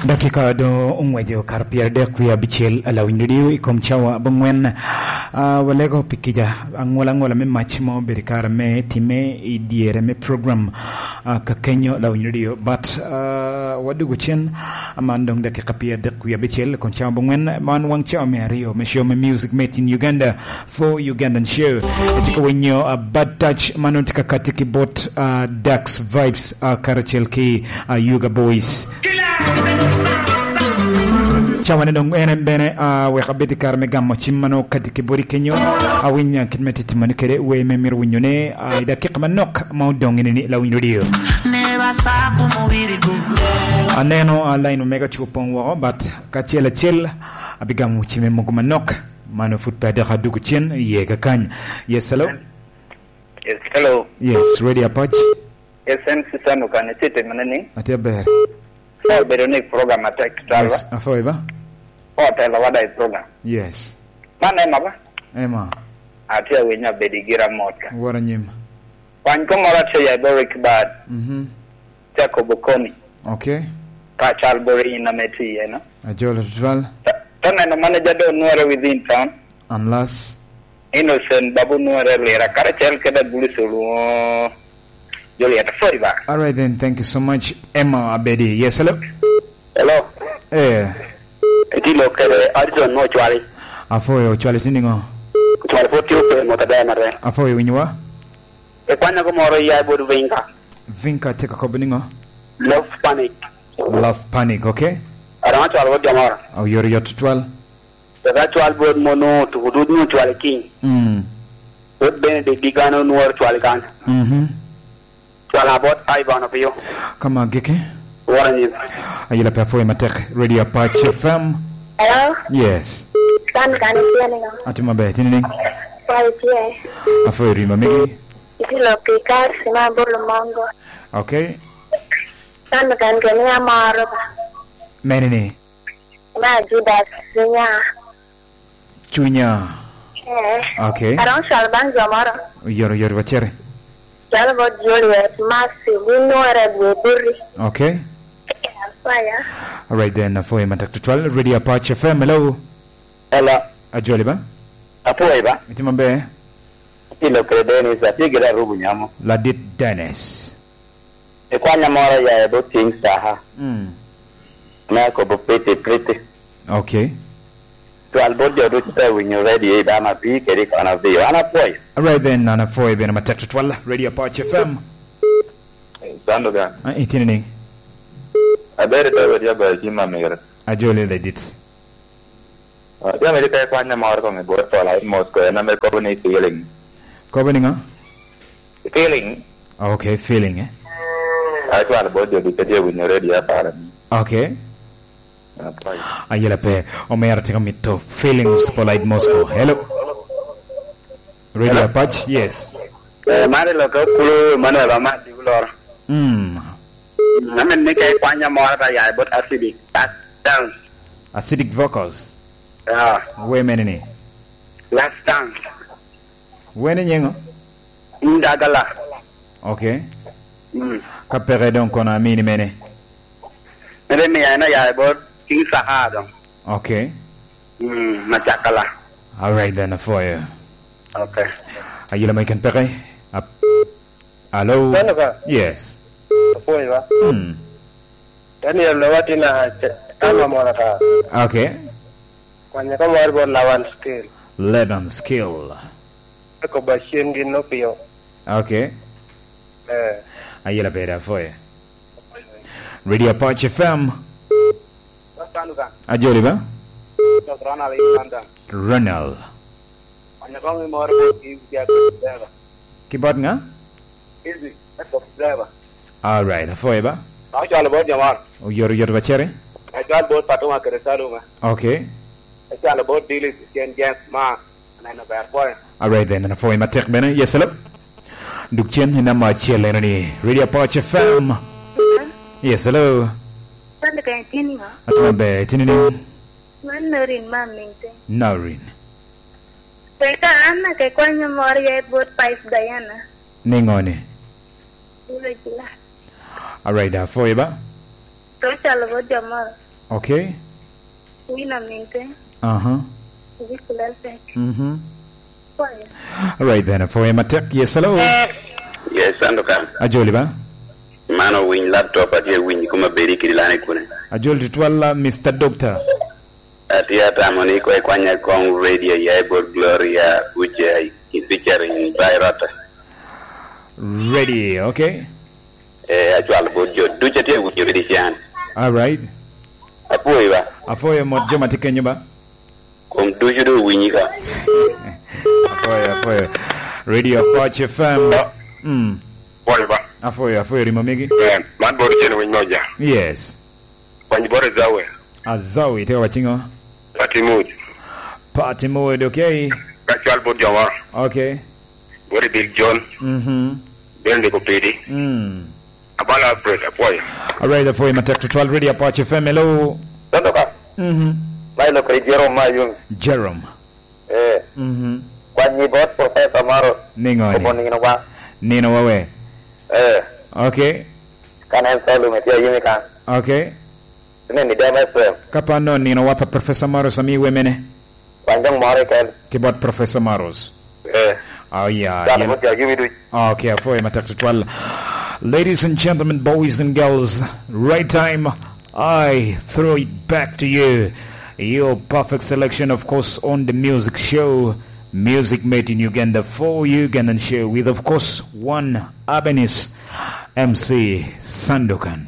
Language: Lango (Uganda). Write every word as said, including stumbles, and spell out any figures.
Dakika doŋ oŋwejo kare pyeradek wie abicel, a Lawiny Radio i kom cawa abongwen. Ah, walego pi kica aŋola aŋola me mac ma obedo i kare me timme i dyere me program, ah, kakenyo Lawiny Radio. But, ah, wadugo cen, man doŋ dakika pyeradek wie abicel i kom cawa abongwen. Man waŋ cawa me aryo me show me Music Made in Uganda for Ugandan Show. Itye ka winyo, ah, Bad Touch, man tye ka katti ki bot, ah, Dax Vibes, ah, karacel ki, ah, Yuga Boys. Cawane doŋ en bene, ah, wek abed i kare me gamo cim ma nongo kadi ki bodi kenyo. Awiny, ah, kit me titimo ni kede wer me myero winyo ne, ah, i dakika manok ma odoŋ eni ni Lawiny Radio. Aneno, ah, line omega cu opoŋ woko, but kacel acel abigamo cimme mogo manok. Mano pwod pe adok adugo cen iye kakany. Yes, hello? Yes, hello. Yes, Radio Apac. Yes, en Susan Okane, tye timo ne ni? Atye aber. Obedo ni program atek tutwal ba? Yes, afoyo ba? Otelo wada i program. Yes. Man Emma ba? Emma. Atye awinyo abedo i gira mot ka. Wora nyim. Kwany kong moro atye ya i Boric Bad. Mhm. Jacob Okoni. Okay. Ka cal boro in ame tye iye, no? Ajolo tutwal. Ta, ta neno manager do onwore within town. Unless Innocent Babu Nuere Lira, karacel kede Abulus Oluŋo Juliet Foiba. All right then, thank you so much. Emma Abedi. Yes, hello? Hello. Eh. Itilo kede Addison mo Ocwali. Afoyo, Ocwali tye niŋo? Ocwali pwod tye ope mot aber matek. Afoyo, winyowa? Ikwanyago moro ya i bot Vinka. Vinka tye ka kobo niŋo? Love Panic. Love Panic, okay. Aromo cwalo bot jo moro. Oyotoyot tutwal. Eka cwal bot mon otuko dud nyo cwal i king. Mm. Bot Benedict Digano onworo cwal i kany. Mhm. Cwal abot Ivan Opio. Ka ma giki. Wora nyim. Ayela pe afoyo matek. Radio Apac F M. Hello? Yes. Kan kan itye niŋo? Atye maber, itye niŋ? Kwai tye. Afoyo rima megi. Itye lok i kas ma abolo mongo. Okay. Kan kan keni amoro ba. Mene ni? Ma Judas Cunya. Cunya. Eh. Okay. Aroŋ cwalo baŋ jo moro. Yoro, yoro, wacere. Cwalo bot Juliet, Mercy, Winora, Gweburi. Okay. Apoya. All right then, afoyo matek tutwal. Radio Apac F M, hello. Hello. Ajoli ba? Apoyo ba? Itye maber? Atye lok kede Dennis, atye gire arubu nyamo. Ladit Dennis. Ikwanya moro ya i bot King Saha. Mm. Me akobo pretty, pretty. Okay. Twal bot jo ducu te winyo radio i dama pi kede kono bio. An apwoyo. All right then, an apwoyo bene matek tutwal. Radio Apac F M. Sando gan. Ah, itini ni? Aber to ya ba jima mere. Ajoli ladit. Ah, jami di ka ikwanya moro kong i bot Paul Hyde Moscow, en ame kobo ni feeling. Kobo ni ŋo? Feeling. Ah, okay, feeling, eh? Ai, twal bot jo ducu tye winyo radio apara ni. Okay. Ah, twal. Ayela pe, omera tye ka mito feelings, Paul Hyde Moscow. Hello? Radio Hello? Apac, yes. Eh, mari lo ka kulu Emmanuel Amadi Uloro. Mm. Amen ni ka ikwanya moro ta ya bot acidic. Last dance. Acidic vocals. Yeah. Wer mene ni? Last dance. Wer ni nyeŋo? Ndagala. Okay. Mm. Ka peke doŋ kono amini mene? Mene mi ya ena ya bot King Saha doŋ. Okay. Mm, macakala. All right then, for you. Okay. Ayela mai kan peke. Ap-, Alo. Mano ka? Yes. Apwoyo ba? Hmm. Daniel, lo watin a ce-, tama moro ta. Okay. Kwanya ka moro bot Laban Skill. Laban Skill. Eko ba cen gin no pio. Okay. Eh. Ayela beda foye. Radio Apache F M. Ajoli ba? Ronald. Ki bot ŋa? All right, afoye ba? Oyoto, oyoto ba cere. Okay. All right then, an apwoyo matek bene. Yes, hello. Duk cen i namba acel eno ni Radio Apache F M. Yes, hello. Atye maber, itye nining? Man Norin, ma Minte. Norin. Teka an ake kwanyo moro ya i bot Pipe Diana. Niŋo ni? All right, apwoyo ba? Ocalo bot jo moro. Okay. Wina minte. Aha. Wikulel pek. Mhm. Kwayo. All right then, for him attack. Yes, hello. Yes, Sandukan. Ajoli ba? Mano winy laptop atye winy kuma bedi kidi lane kune. Ajol tutwal, uh, Mister Doctor. Atye atamo ni ko ikwanya kong radio ya i bot Gloria Uche i featuring Bayrota. Radio, okay. Eh, acwalo bot jo ducu atye winyo kede can. All right. Apwoyo ba. Apwoyo mot jo ma tye kenyo ba. Kom ducu do winyi ka. Apwoyo, apwoyo. Radio Apache F M. Mm. Apwoyo ba. Apwoyo, apwoyo rimo migi. Eh, man bot cen winy moja. Yes. Kwany bot Azawi. Azawi, te wacingo? Pati Muj. Pati Muj, okay. Ka cwal bot jo moro. Okay. Bot Bill John. Mhm. Bende ko pidi. Mm. Abala Alfred, apwoyo. All right, apwoyo matek tutwal. Radio Apache F M, hello. Toto ka. Mhm. Mai lo kri Jerome Mayung. Jerome. Eh. Mhm. Kwanyi bot Professor Maro. Ningo ni? Obo nino wa. Nino wa we. Eh. Okay. Kan en solo me tye yimi kan. Okay. Ni ni dema F M. Ka pa no nino wa pa Professor Maro sami we mene. Kwan dong moro keken. Ki bot Professor Maros. Eh. Oh, yeah. Dano mo tye yimi duc. Okay, apwoyo matek tutwal. Ladies and gentlemen, boys and girls, right time, I throw it back to you. Your perfect selection, of course, on the music show, Music Made in Uganda for Ugandan show with, of course, one Albanese M C Sandukan.